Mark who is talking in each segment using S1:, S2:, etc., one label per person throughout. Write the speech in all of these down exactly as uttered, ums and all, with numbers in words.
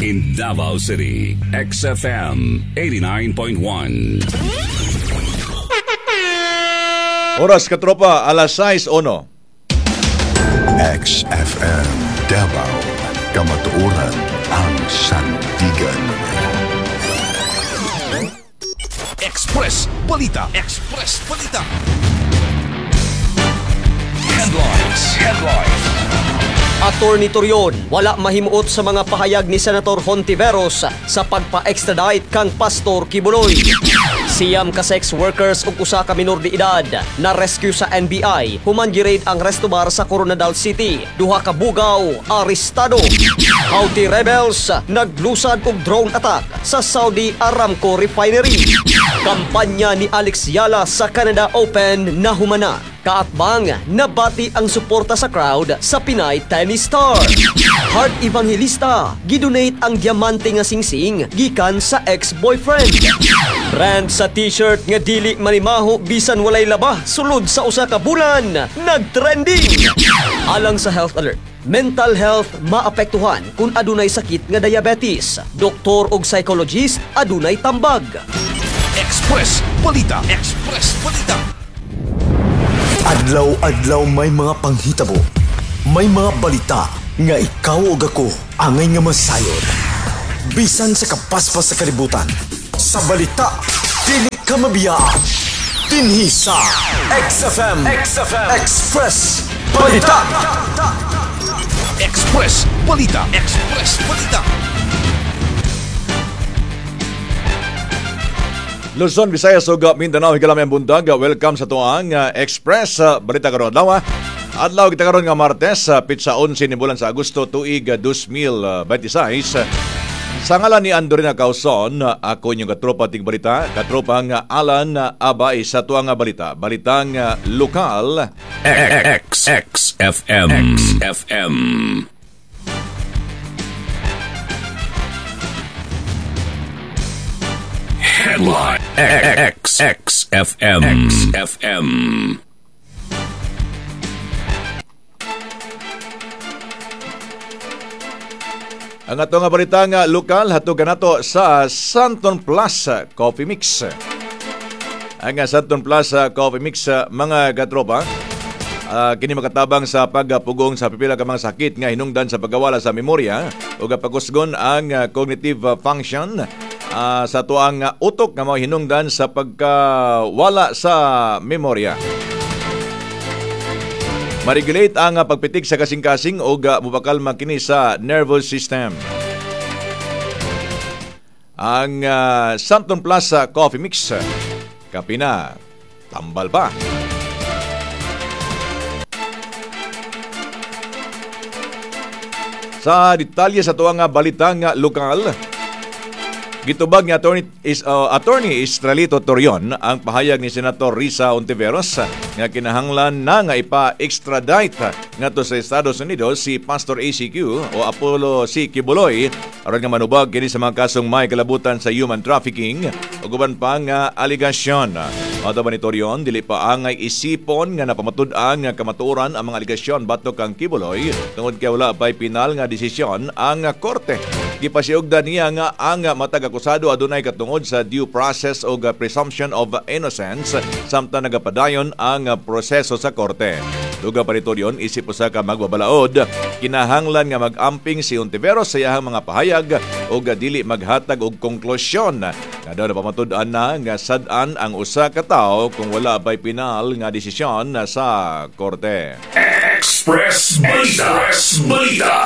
S1: In Davao City, X F M eighty-nine point one.
S2: Oras, katropa, alas sais uno.
S3: X F M Davao, Kamatuoran ang sandigan.
S1: Express Balita. Express Balita. Headlines. Headlines.
S4: Attorney Torion, wala mahimuot sa mga pahayag ni Senator Hontiveros sa pagpa-extradite kang Pastor Quiboloy. Siyam ka sex workers ug usa ka minor de edad na rescue sa N B I human gi-raid ang resto bar sa Koronadal City. Duha ka bugaw arestado. Houthi rebels naglusad og drone attack sa Saudi Aramco refinery. Kampanya ni Alex Eala sa Canada Open nahumana. Kaatbang, nabati ang suporta sa crowd sa Pinay tennis star. Heart Evangelista, gidonate ang diamante nga singsing gikan sa ex-boyfriend. Brand sa t-shirt nga dili manimaho bisan walay laba sulod sa usa ka bulan, nagtrending. Alang sa health alert, mental health maapektuhan kung adunay sakit nga diabetes. Doktor og psychologist adunay tambag.
S1: Express Balita. Express Balita.
S5: Adlaw-adlaw may mga panghitabo. May mga balita nga ikaw ug ako angay nga masayod. Bisan sa kapaspas sa kalibutan. Sa balita, dili ka mabiya. Dinhi sa X F M, X F M Express Balita.
S1: Express Balita. Express Balita.
S2: Luzon, Visayas ug Mindanao, higala maayong buntag. Welcome sa atoang uh, Express uh, Balita karon adlaw. Adlaw kita karon nga Martes, uh, petsa onse ni bulan sa Agosto tuig uh, dalawang libo labing walo. Sa ngalan ni Andorina Causon, uh, ako inyong katropa tig balita, katropang uh, Alan Abay sa atoang uh, balita. Balitang uh, lokal.
S1: X X F M X F M. Headline X X F M X F M.
S2: Ang ato nga balita nga lokal hatog kanato sa Santon Plus Coffee Mix. Ang Santon Plus Coffee Mix, mga katropa, uh, kini makatabang sa pagpugong sa pipila ka mga sakit nga hinungdan sa pagkawala sa memorya ug pagkusgon ang cognitive function uh, sa tuang utok nga mao hinungdan sa pagkawala sa memorya. Ma-regulate ang pagpitik sa kasing-kasing o mupakalma kini sa nervous system. Ang uh, Santon Plus Coffee Mix, kape na, tambal pa. Sa detalye sa tuang balitang lokal, gitubag ni Attorney, is, uh, Attorney Estrelito Torion ang pahayag ni Senator Risa Hontiveros nga kinahanglan na nga ipa-extradite ngadto sa Estados Unidos si Pastor A C Q o Apollo C. Quiboloy aron nga manubag kini sa mga kasong may kalabutan sa human trafficking ug uban pa nga aligasyon. Matod pa ni Torion, dili pa angay isipon nga napamatud-an nga kamatuoran ang mga aligasyon batok kang Quiboloy tungod kay wala pa'y pinal nga desisyon ang korte. Gipasiugdan niya nga ang matag akusado adunay katungod sa due process o presumption of innocence samtang nagapadayon ang proseso sa korte. Duga pa ni Torion, isip usa ka magbabalaod, kinahanglan nga mag-amping si Hontiveros sa iyahang mga pahayag o dili maghatag og konklusyon nga daw napamatud-an na nga sad-an ang usa ka tawo kung wala pa'y pinal nga desisyon sa korte.
S1: Express Balita. Express Balita.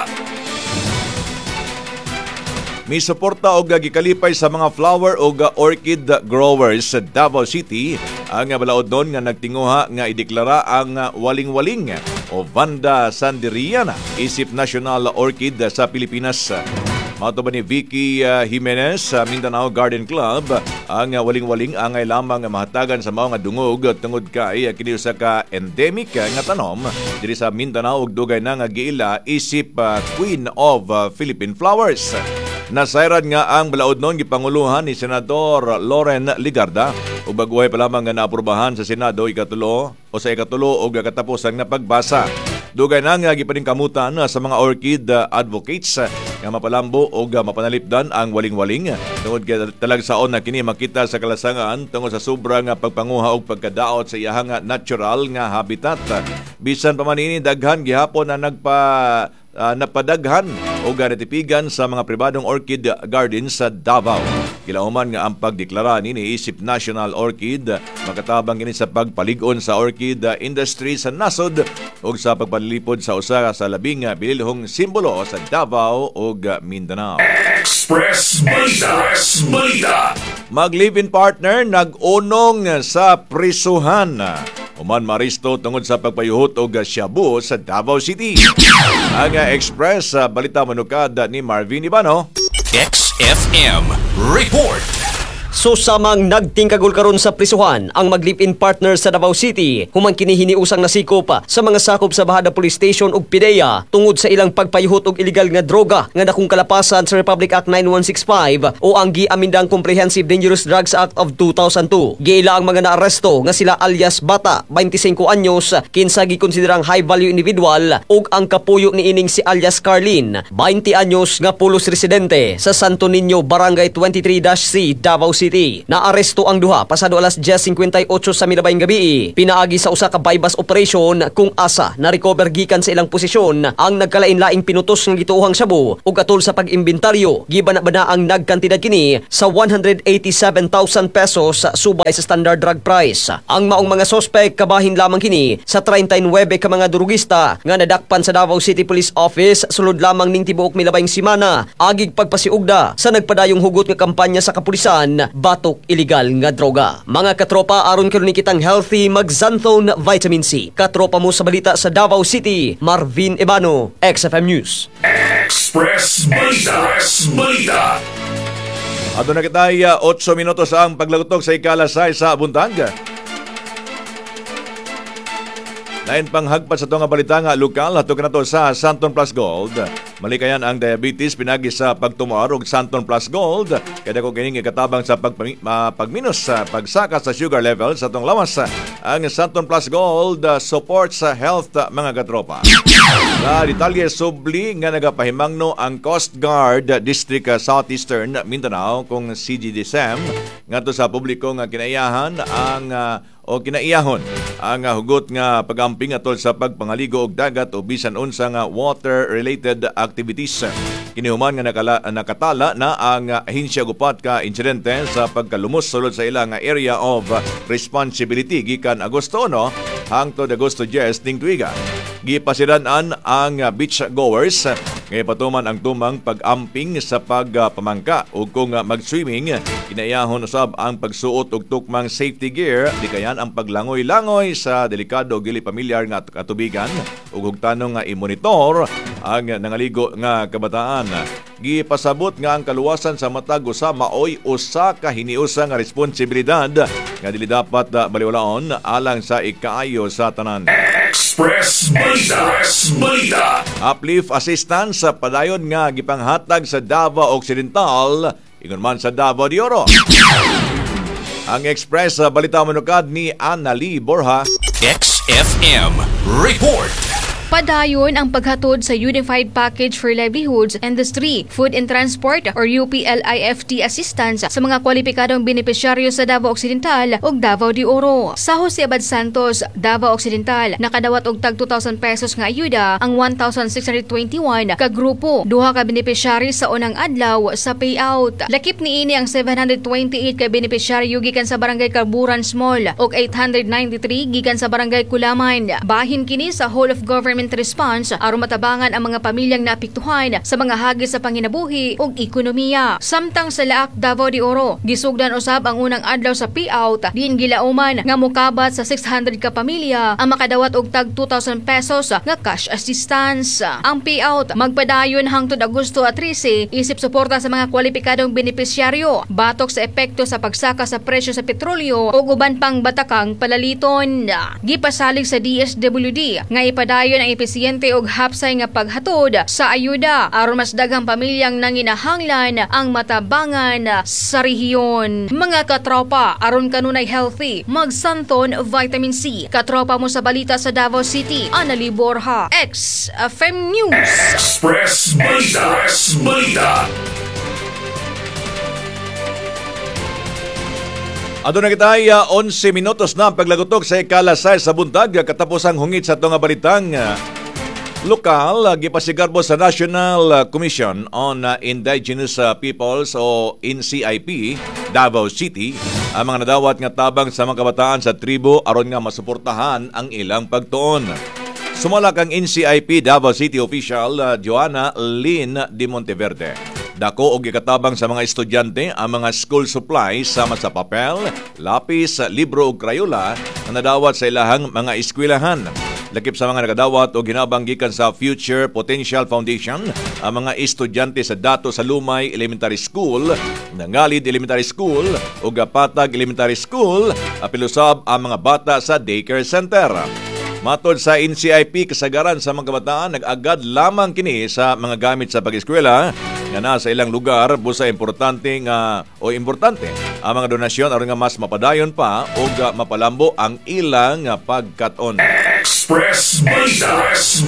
S2: Misuporta og gikalipay sa mga flower og orchid growers sa Davao City ang balaod nun nga nagtinguha nga ideklara ang waling-waling o Vanda Sanderiana isip national orchid sa Pilipinas. Mato ba ni Vicky Jimenez sa Mindanao Garden Club, ang waling-waling angay lamang mahatagan sa mga dungog tungod kay kini usa ka endemic nga tanom diri sa Mindanao ug dugay na nga giila isip Queen of Philippine Flowers. Nasayran nga ang balaod noon gipanguluhan ni Senador Loren Legarda ug baguhay pa lamang nga naaprubahan sa Senado ikatulo o sa ikatulo og katapusan nga pagbasa. Dugay na nga gipaningkamutan sa mga orchid advocates Nga mapalambo og mapanalipdan ang waling-waling tungod kay talagsaon na kini makita sa kalasangan tungod sa sobra nga pagpanguha og pagkadaot sa iyahang natural nga habitat. Bisan pa man ini, daghan gihapon na nagpa uh, napadaghan o natipigan sa mga pribadong orchid gardens sa Davao. Kilauman nga ang pagdeklara nini isip National Orchid makatabang kini sa pagpalig-on sa orchid industry sa nasod ug sa pagpalipod sa usa sa labing bililhong simbolo sa Davao ug Mindanao.
S1: Express Balita. Express Balita.
S2: Mag-live-in partner nag-unong sa prisuhan. Human maaresto tungod sa pagpayuhot og shabu sa Davao City. Ang Express sa Balita Manukad ni Marvin Ibano.
S1: X F M Report.
S4: Susamang nagtingkagol karon sa prisuhan ang mag-live-in partner sa Davao City human kini hiniusang nasikop sa mga sakop sa Bajada Police Station ug P D E A tungod sa ilang pagpayuhot og illegal nga droga nga dakong kalapasan sa Republic Act nine one six five o ang giamendang Comprehensive Dangerous Drugs Act of two thousand two. Giila ang mga naaresto nga sila alias Bata, twenty-five anyos, kinsa gikonsiderang high value individual, ug ang kapuyo niining si alias Carlin, twenty anyos, nga pulos residente sa Santo Niño, Barangay twenty-three C, Davao City. Naaresto ang duha pasado alas diyes singkwenta y otso sa milabayng gabi. Pinaagi sa usa ka buy-bust operation kung asa na recover gikan sa ilang posisyon ang nagkalain-laing pinutos nga gituohang shabu ug atol sa pag-imbentaryo gibana-bana ang nagkantidad kini sa one hundred eighty-seven thousand pesos subay sa standard drug price. Ang maong mga sospek kabahin lamang kini sa trentay nuwebe ka mga durugista nga nadakpan sa Davao City Police Office sulod lamang ning tibuok milabayng simana agig pagpasiugda sa nagpadayong hugot nga kampanya sa kapulisan batok illegal nga droga. Mga katropa, aron karon kitang healthy, mag-Xanthone Vitamin C. Katropa mo sa balita sa Davao City, Marvin Ebano, X F M News.
S1: Express Balita. Express Balita.
S2: Adto na kita otso minutos ang paglagutok sa ikalas sais sa buntag. Lain pang hagpat sa nga balita nga lokal, ato na sa Xanthone Plus Gold. Malikayan ang diabetes pinagi sa pagtumar og Xanthone Plus Gold. Kaya ko kining ikatabang sa pagpami, ma, pagminus sa pagsaka sa sugar level sa atong lawas. Ang Xanthone Plus Gold uh, supports sa health, uh, mga katropa. Sa detalye, subli nga nagapahimangno ang Coast Guard District uh, Southeastern Mindanao kung C G D S M ngadto sa publiko nga kinaiyahan ang uh, o kinaiyahon ang uh, hugot nga pagamping atol sa pagpangaligo og dagat o bisan unsa nga water related activities. Kinihuman nga nakala, nakatala na ang uh, ahensya og upat ka insidente sa pagkalumos sulod sa ilang area of responsibility gikan Agosto uno hangtod Agosto diyes ning tuiga. Gipasiran-an ang beach goers nga ipatuman ang tumang pag-amping sa pagpamangka ug kung mag-swimming, kinaiyahon usab ang pagsuot og tukmang safety gear, di kayan ang paglangoy-langoy sa delikado ug dili pamilyar nga katubigan ug hugtanon nga i-monitor ang nangaligo nga kabataan. Gipasabot nga ang kaluwasan sa matag usa maoy usa ka hiniusa nga responsibilidad nga dili dapat baliwalaon alang sa ikaayo sa tanan.
S1: Express Balita. Express Balita.
S2: Uplift assistance sa padayon nga gipanghatag sa Davao Occidental ingon man sa Davao de Oro. Ang Express sa Balita Manukad ni Annalie Borja.
S1: X F M Report.
S6: Padayon ang paghatod sa Unified Package for Livelihoods Industry, Food and Transport or U P L I F T assistance sa mga kwalipikadong benepisyaryo sa Davao Occidental ug Davao de Oro. Sa Jose Abad Santos, Davao Occidental, nakadawat og tag two thousand pesos nga ayuda ang one thousand six hundred twenty-one ka grupo, duha ka benepisyaryo sa unang adlaw sa payout. Lakip niini ang seven hundred twenty-eight ka benepisyaryo gikan sa Barangay Carburan Small ug eight hundred ninety-three gikan sa Barangay Kulaman. Bahin kini sa whole of government response aron matabangan ang mga pamilyang naapektuhan sa mga hagis sa panginabuhi ug ekonomiya. Samtang sa Laak, Davao de Oro, gisugdan usab ang unang adlaw sa payout diin gilauman nga mokabat sa six hundred ka pamilya ang makadawat og tag two thousand pesos nga cash assistance. Ang payout magpadayon hangtod Agosto at trese isip suporta sa mga kwalipikadong benepisyaryo batok sa epekto sa pagsaka sa presyo sa petrolyo ug uban pang batakang palaliton. Gipasalig sa D S W D nga ipadayon ang ang epesyente og hapsay nga paghatod sa ayuda aron mas daghang pamilyang nanginahanglan ang matabangan sa rehiyon. Mga katropa, aron kanunay healthy, magsanton Vitamin C. Katropa mo sa balita sa Davao City, Anali Borja, X F M News.
S1: Express Balita. Express Balita.
S2: Aduna kita ay uh, onse minutos na ang paglagutok sa ikalas sais sa buntag, katapos ang hungit sa atong balitang uh, lokal. Uh, gipasigarbo sa National Commission on uh, Indigenous uh, Peoples o N C I P Davao City ang mga nadawat nga tabang sa mga kabataan sa tribo aron nga masuportahan ang ilang pagtuon. Sumalak ang N C I P Davao City official uh, Joanna Lynn de Monteverde. Dako og gikatabang sa mga estudyante ang mga school supplies sama sa papel, lapis, libro ug crayola nga nadawat sa ilahang mga eskwelahan. Lakip sa mga nakadawat og hinabang gikan sa Future Potential Foundation ang mga estudyante sa Dato sa Lumay Elementary School, Nangalid Elementary School ug Patag Elementary School, apil usab ang mga bata sa daycare center. Matod sa N C I P, kasagaran sa mga kabataan nag-agad lamang kini sa mga gamit sa pag-eskwela nga nasa ilang lugar, busa importante nga o importante ang mga donasyon aron nga mas mapadayon pa ug mapalambo ang ilang pagkat-on.
S1: Express Balita. Express.